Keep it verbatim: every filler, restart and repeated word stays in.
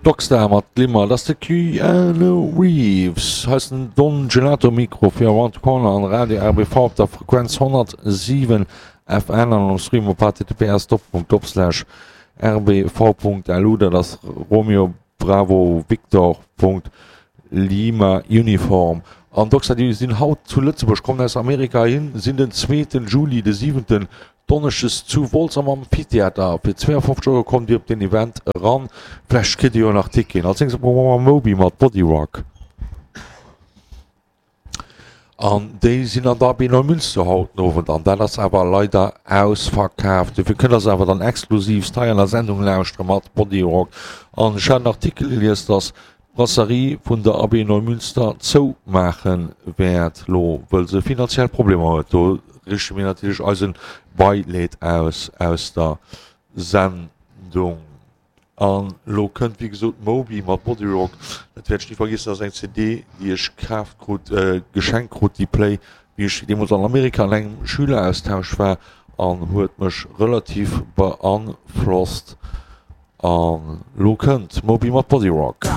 Dogstar mat Glimmer, dat ass de Keanu Reeves. Hei ass den Don Gelato Mikro fir Around the Corner an Radio R B V op der Frequenz honnertsiwen F M an um Stream op H T T P S Doppelpunkt Doppelslash R B V Punkt L U, dat ass Romeo Bravo Victor Punkt Lima Uniform. An Dogstar, déi sinn haut zu Lëtzebuerg, kommen aus Amerika hin, sinn den zweeten Juli, de siwenten Donneschdes zu Wolz am Amphitheater. Fir zweeafofzeg Euro kommt Dir op den Event eran. Vläicht kritt Dir jo nach Ticketen. Als nächstes brauche mer Moby mat Body Rock. An déi sinn an der A B Neumünster haut den Owend an dat ass awer leider ausverkaaft. Dofir kënnt der se awer dann exklusivst hei an der Sendung lauschtere mat Body Rock. An ech hat en Artikel gelies, dass d'Brasserie vun der A B Neumünster zoumaache wäert lo, wëll se finanziell Problemer huet. Do riichte mir natierlech eise Beileed aus aus der Sendung. An lo kënnt wéi gesot Moby mat Body Rock. Dat wäert ech ni vergiessen, dat ass eng C D, déi ech kaaft krut, geschenkt krut, déi Play, wéi ech deemools an Amerika an engem Schüleraustausch war an huet mech relativ beanflosst. An lo kënnt Moby mat Body Rock.